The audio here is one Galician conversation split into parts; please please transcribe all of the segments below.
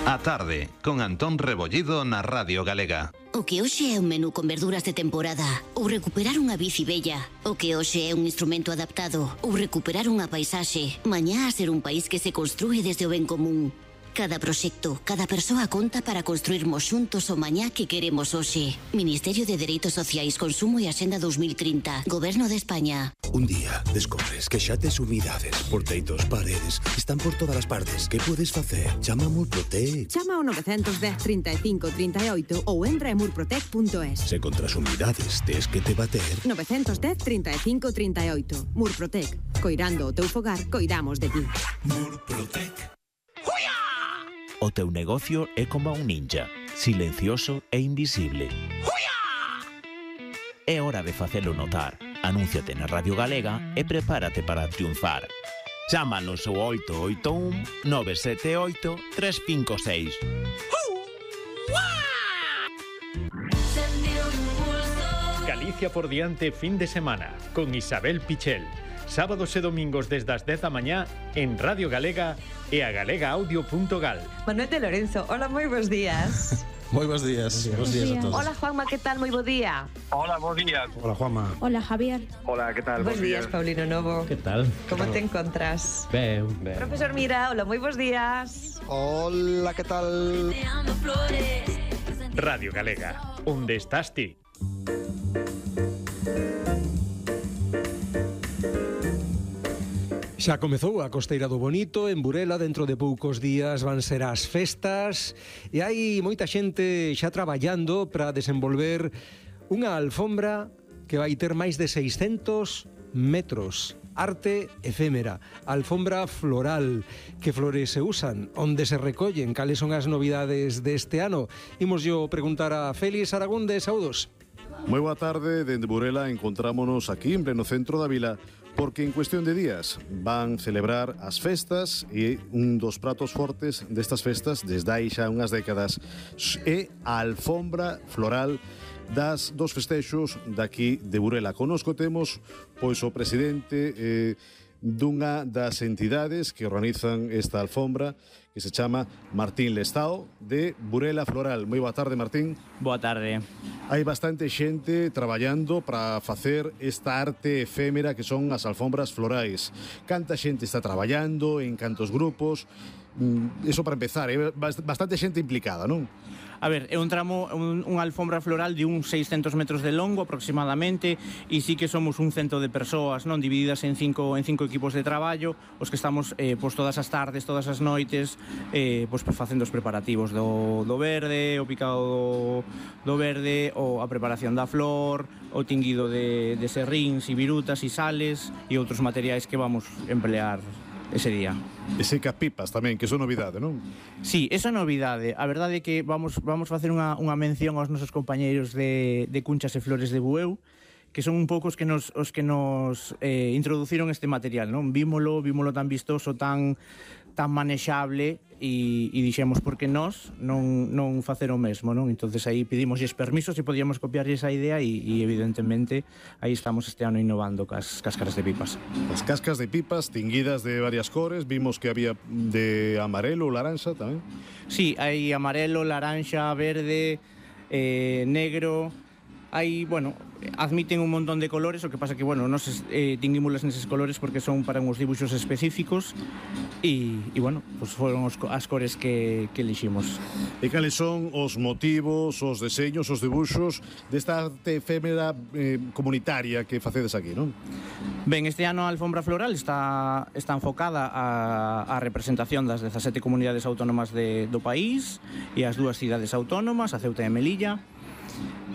A tarde, con Antón Rebollido na Radio Galega. O que hoxe é un menú con verduras de temporada, ou recuperar unha bici bella. O que hoxe é un instrumento adaptado, ou recuperar unha paisaxe. Mañá a ser un país que se construe desde o ben común. Cada proxecto, cada persoa conta para construirmos xuntos o mañá que queremos hoxe. Ministerio de Dereitos Sociais, Consumo e Axenda 2030. Goberno de España. Un día descobres que xa tes humidades, porteitos, paredes, están por todas as partes. Que podes facer? Chama a Murprotec. Chama ao 910 35 38 ou entra en murprotec.es. Se contra as humidades tes que te bater. 910 35 38. Murprotec. Coirando o teu fogar, coidamos de ti. Murprotec. O teu negocio é como un ninja, silencioso e invisible. É hora de facelo notar. Anúnciate na Radio Galega e prepárate para triunfar. Chámanos ao 881 978 356. Galicia por diante fin de semana con Isabel Pichel. Sábados e domingos desde as 10 da mañá en Radio Galega e a galegaaudio.gal. Manuel de Lorenzo, hola, moi bons días. Moi bons días. Bons días a todos. Hola, Juanma, que tal? Moi bo día. Hola, bons días. Hola, Juanma. Hola, Javier. Hola, que tal? Bons días, Paulino Novo. Que tal? Como te encontras? Ben. Profesor Mira, hola, moi bons días. Hola, que tal? Radio Galega, onde estás ti? Xa comezou a Costeira do Bonito en Burela, dentro de poucos días van ser as festas e hai moita xente xa traballando para desenvolver unha alfombra que vai ter máis de 600 metros. Arte efémera, alfombra floral. Que flores se usan? Onde se recollen? Cales son as novidades deste ano? Imos yo preguntar a Félix Aragón de Saudos. Moi boa tarde, dende Burela encontrámonos aquí en pleno centro da vila porque en cuestión de días van celebrar as festas e un dos pratos fortes destas festas desde hai xa unhas décadas é a alfombra floral das dos festexos daqui de Burela. Conosco temos pois o presidente dunha das entidades que organizan esta alfombra que se chama Martín Lestao de Burela Floral. Moi boa tarde, Martín. Boa tarde. Hai bastante xente traballando para facer esta arte efémera que son as alfombras florais. Canta xente está traballando, en cantos grupos? Eso para empezar, é bastante xente implicada, non? A ver, é un tramo, unha alfombra floral de uns 600 metros de longo aproximadamente e sí que somos un cento de persoas, non, divididas en cinco equipos de traballo, os que estamos pois todas as tardes, todas as noites pois facendo os preparativos do verde, o picado do verde, ou a preparación da flor, o tinguido de serríns e virutas e sales e outros materiais que vamos emplear ese día. E seca pipas tamén, que é novidade, non? Sí, esa é novidade. A verdade é que vamos facer unha mención aos nosos compañeiros de Cunchas e Flores de Bueu, que son un pouco os que nos introduciron este material, non? Vímolo tan vistoso, tan manexable e dixemos porque nós non facer o mesmo, non? Entonces aí pedimosles permisos e podíamos copiarles a idea e evidentemente aí estamos este ano innovando cas cáscaras de pipas. As cascas de pipas tinguidas de varias cores, vimos que había de amarelo ou laranxa tamén. Sí, hai amarelo, laranxa, verde, negro. Hai, bueno, admiten un montón de colores, o que pasa que, bueno, nos tinguímolas neses colores porque son para uns dibuixos específicos e bueno, pues foron as cores que eliximos. E cales son os motivos, os deseños, os dibuixos desta arte efémera comunitaria que facedes aquí, non? Ben, este ano a alfombra floral está enfocada a representación das 17 comunidades autónomas do país e as dúas cidades autónomas, a Ceuta e Melilla.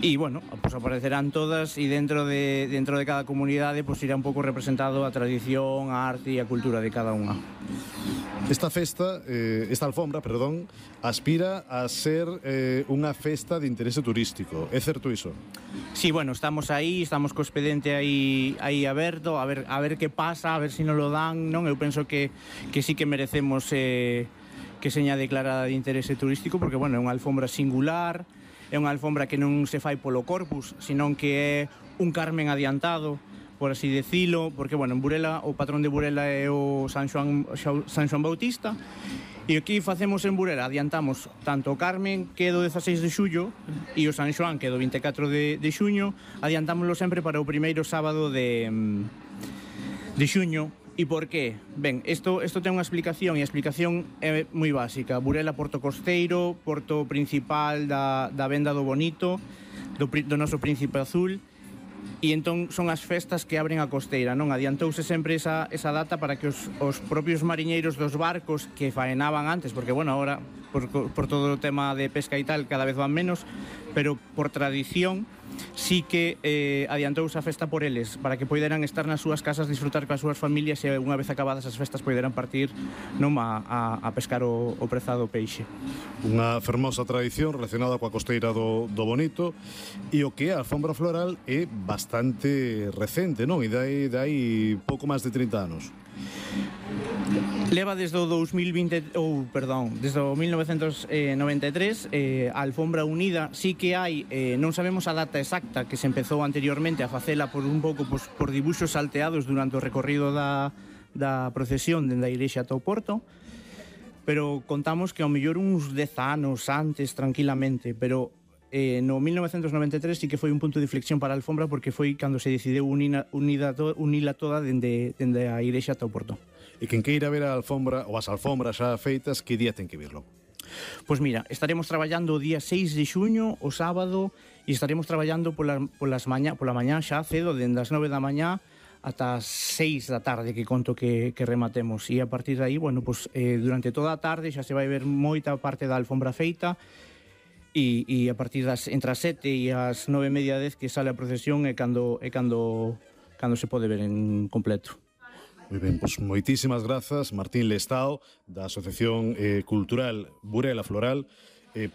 E, bueno, pues aparecerán todas e dentro de cada comunidade pues irá un pouco representado a tradición, a arte e a cultura de cada unha. Esta festa, esta alfombra, perdón, aspira a ser unha festa de interese turístico. É certo iso? Sí, bueno, estamos co expediente aí aberto, a ver que pasa, a ver se nos lo dan, non? Eu penso que sí que merecemos que seña declarada de interese turístico porque, bueno, é unha alfombra singular. É unha alfombra que non se fai polo corpus, senón que é un Carmen adiantado, por así decilo, porque, bueno, en Burela, o patrón de Burela é o San Xoán Bautista, E aquí facemos en Burela, adiantamos tanto o Carmen, que é do 16 de xullo, e o San Xoán, que é do 24 de xuño, adiantámoslo sempre para o primeiro sábado de xuño. E por qué? Ben, isto ten unha explicación, e a explicación é moi básica. Burela, porto costeiro, porto principal da Venda do Bonito, do noso Príncipe Azul, e entón son as festas que abren a costeira, non? Adiantouse sempre esa data para que os propios mariñeiros dos barcos que faenaban antes, porque, bueno, ahora, por todo o tema de pesca e tal, cada vez van menos, pero por tradición, sí que adiantouse a festa por eles, para que poideran estar nas súas casas, disfrutar coas súas familias e unha vez acabadas as festas poideran partir non a pescar o prezado peixe. Unha fermosa tradición relacionada coa costeira do Bonito, e o que é a alfombra floral é bastante recente, non? E dai pouco máis de 30 anos. Leva desde o 2020, desde o 1993, a Alfombra Unida sí que hai, non sabemos a data exacta que se empezou anteriormente a facela por un pouco por dibuixos salteados durante o recorrido da procesión dende a igrexa ata o porto, pero contamos que ao mellor uns 10 anos antes tranquilamente, pero no 1993 sí que foi un punto de inflexión para a alfombra porque foi cando se decideu unila toda dende a igrexa ata o porto. E quen queira ver a alfombra ou as alfombras xa feitas, que día ten que verlo? Pois mira, estaremos traballando o día 6 de xuño, o sábado, e estaremos traballando pola mañá xa cedo, dende as 9 da mañá ata as 6 da tarde, que conto que rematemos. E a partir de aí, bueno, pues, durante toda a tarde xa se vai ver moita parte da alfombra feita, e a partir entre as 7 e as 9:30, 10 que sale a procesión é cando se pode ver en completo. Moi ben, pois moitísimas grazas, Martín Lestao, da Asociación Cultural Burela Floral,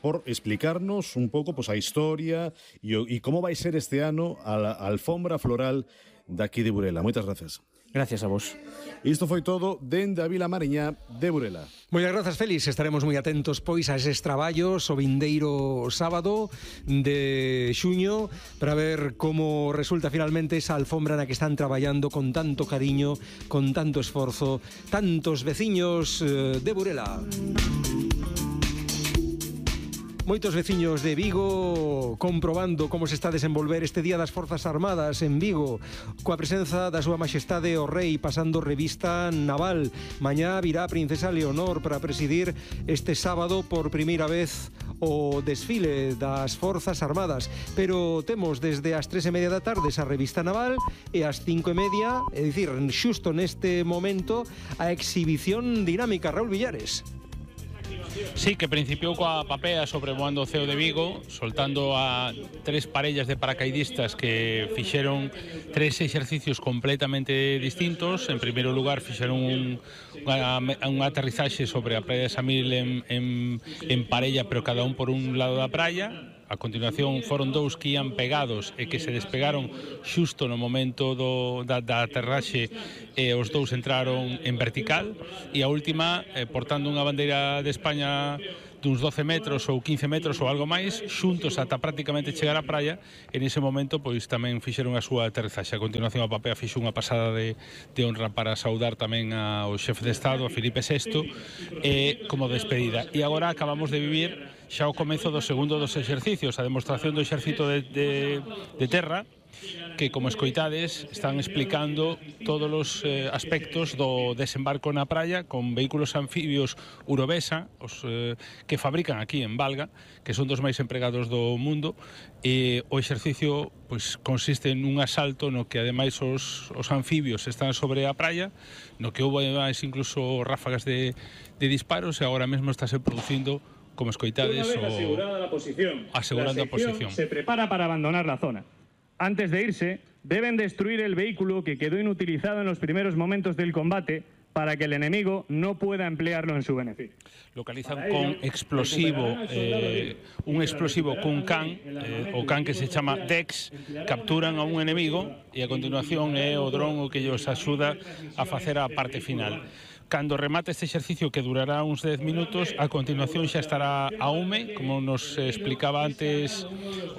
por explicarnos un pouco a historia e como vai ser este ano a alfombra floral daqui de Burela. Moitas grazas. Gracias a vos. Isto foi todo dende a Vila Mariñá de Burela. Moitas grazas, Félix. Estaremos moi atentos, pois, a eses traballos o vindeiro sábado de xuño para ver como resulta finalmente esa alfombra na que están traballando con tanto cariño, con tanto esforzo, tantos veciños de Burela. Moitos veciños de Vigo comprobando como se está a desenvolver este Día das Forzas Armadas en Vigo, coa presenza da súa Maxestade o Rei pasando revista naval. Mañá virá a Princesa Leonor para presidir este sábado por primeira vez o desfile das Forzas Armadas, pero temos desde as 3:30 da tarde esa revista naval e as 5:30, é dicir, xusto neste momento, a exhibición dinámica. Raúl Villares. Sí, que principiou coa papea sobrevoando o ceo de Vigo, soltando a 3 parellas de paracaidistas que fixeron 3 exercicios completamente distintos. En primeiro lugar, fixeron un aterrizaxe sobre a praia de Samil en parella, pero cada un por un lado da praia. A continuación foron 2 que ian pegados e que se despegaron xusto no momento da aterraxe, e os 2 entraron en vertical, e a última portando unha bandeira de España duns 12 metros ou 15 metros ou algo máis, xuntos ata prácticamente chegar á praia. En ese momento pois tamén fixeron a súa aterrizaxe. A continuación a papea fixo unha pasada de honra para saudar tamén ao xefe de Estado, a Filipe VI, como despedida. E agora acabamos de vivir xa o comezo do segundo dos exercicios, a demostración do exército de terra, que, como escoitades, están explicando todos os aspectos do desembarco na praia con vehículos anfibios Urovesa, os que fabrican aquí en Valga, que son dos máis empregados do mundo, e o exercicio pois consiste nun asalto no que ademais os anfibios están sobre a praia, no que houve máis incluso ráfagas de disparos, e agora mesmo estáse producindo, como escoitades, asegurando a posición. Se prepara para abandonar la zona. Antes de irse, deben destruir el vehículo que quedó inutilizado en los primeros momentos del combate para que el enemigo no pueda emplearlo en su beneficio. Localizan con explosivo, un explosivo cun can, o can que se chama Dex, capturan a un enemigo e a continuación é o dron o que lles axuda a facer a parte final. Cando remate este exercicio, que durará uns 10 minutos, a continuación xa estará a UME, como nos explicaba antes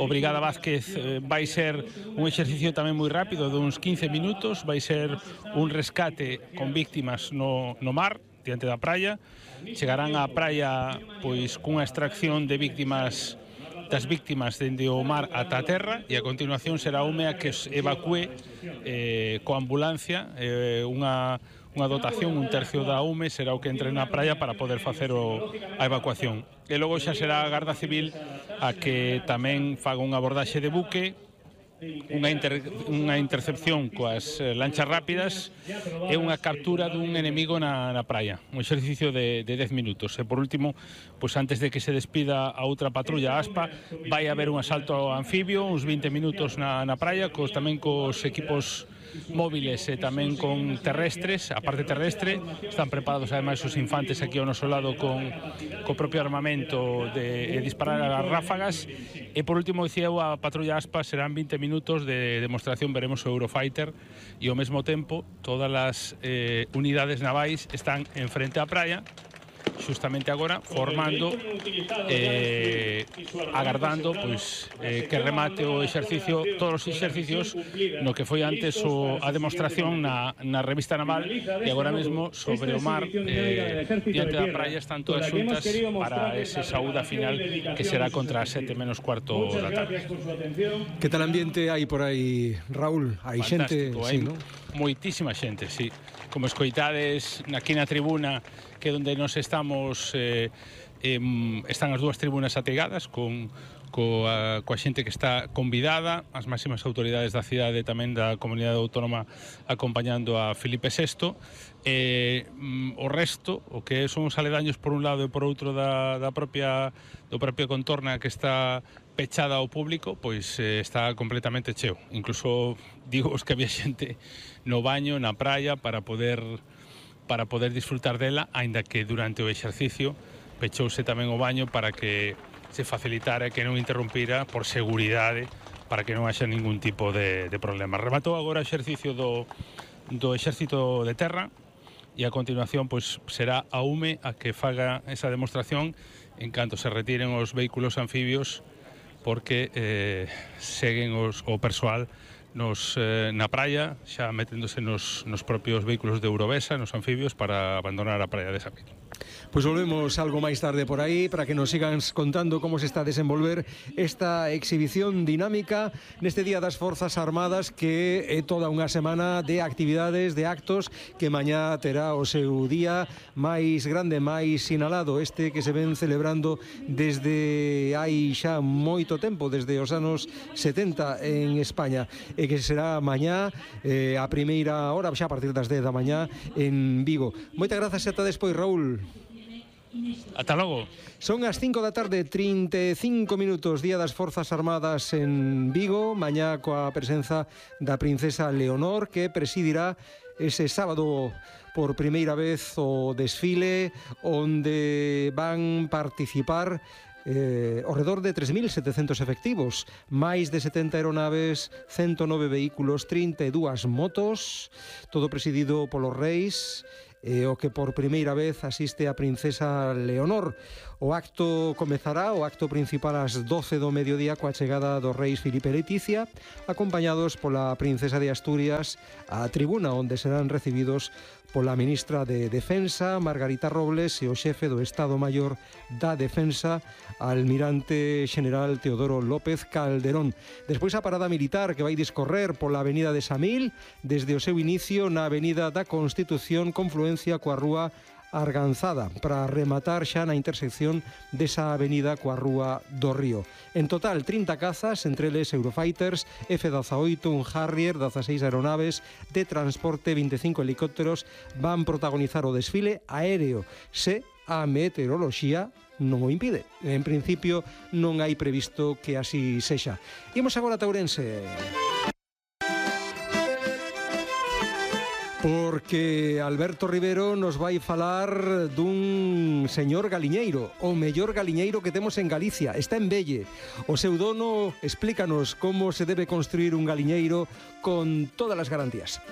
o Brigada Vázquez. Vai ser un exercicio tamén moi rápido, de uns 15 minutos, vai ser un rescate con víctimas no mar, diante da praia. Chegarán á praia pois cunha extracción de das víctimas dende o mar ata a terra, e a continuación será UME a que os evacúe coa ambulancia, unha dotación, un tercio da UME será o que entre na praia para poder facer a evacuación. E logo xa será a Garda Civil a que tamén faga unha abordaxe de buque, unha intercepción coas lanchas rápidas e unha captura dun enemigo na praia. Un exercicio de 10 minutos. E por último, pois antes de que se despida a outra patrulla ASPA, vai haber un asalto anfibio, uns 20 minutos na praia, tamén cos equipos móviles e tamén con terrestres. A parte terrestre están preparados ademais os infantes aquí ao noso lado co propio armamento de disparar as ráfagas. E por último, dicía a patrulla ASPA, serán 20 minutos de demostración. Veremos o Eurofighter e ao mesmo tempo todas as unidades navais están en frente á praia xustamente agora, formando agardando pois que remate o exercicio, todos os exercicios no que foi antes a demostración na revista naval, e agora mesmo sobre o mar diante da praia están todas xuntas para ese saúda final que será contra as 7 menos cuarto da tarde. Que tal ambiente hai por aí, Raúl? Hai xente, hai sí, ¿no? Moitísima xente, sí. Como escoitades aquí na tribuna, que onde nos estamos, están as dúas tribunas ategadas coa xente que está convidada, as máximas autoridades da cidade, tamén da comunidade autónoma, acompañando a Felipe VI. O resto, o que son os aledaños por un lado e por outro do propia contorna, que está pechada ao público, pois está completamente cheo. Incluso digo que había xente no baño, na praia, para poder disfrutar dela, aínda que durante o exercicio pechouse tamén o baño para que se facilitara e que non interrumpira por seguridade, para que non haxa ningún tipo de problema. Rematou agora o exercicio do Exército de Terra, e a continuación pois será a UME a que faga esa demostración en canto se retiren os vehículos anfibios, porque seguen o persoal na praia, xa meténdose nos propios vehículos de Eurovesa, nos anfibios, para abandonar a praia de Samil. Pois volvemos algo máis tarde por aí para que nos sigan contando como se está a desenvolver esta exhibición dinámica neste Día das Forzas Armadas, que é toda unha semana de actividades, de actos, que mañá terá o seu día máis grande, máis sinalado, este que se ven celebrando desde hai xa moito tempo, desde os anos 70 en España, e que será mañá a primeira hora, xa a partir das 10 da mañá en Vigo. Moitas grazas e ata despois, Raúl. Ata logo. Son as 5 da tarde, 35 minutos, Día das Forzas Armadas en Vigo, mañá coa presenza da princesa Leonor, que presidirá ese sábado por primeira vez o desfile, onde van participar ao redor de 3.700 efectivos, máis de 70 aeronaves, 109 vehículos, 32 motos, todo presidido polos reis, o que por primeira vez asiste a princesa Leonor. O acto comezará, o acto principal, ás 12 do mediodía, coa chegada dos reis Filipe e Leticia, acompañados pola princesa de Asturias, á tribuna onde serán recibidos pola ministra de Defensa, Margarita Robles, e o xefe do Estado Maior da Defensa, almirante xeneral Teodoro López Calderón. Despois a parada militar, que vai discorrer pola avenida de Samil, desde o seu inicio na avenida da Constitución, confluencia coa rúa Arganzada, para rematar xa na intersección desa avenida coa rúa do Río. En total, 30 cazas, entre eles Eurofighters, F-18, un Harrier, 16 aeronaves de transporte, 25 helicópteros, van protagonizar o desfile aéreo, se a meteoroloxía non o impide. En principio, non hai previsto que así sexa. Imos agora a Ourense. Porque Alberto Rivero nos vai falar dun señor galiñeiro, o mellor galiñeiro que temos en Galicia, está en Velle. O seu dono explícanos como se debe construir un galiñeiro con todas as garantías.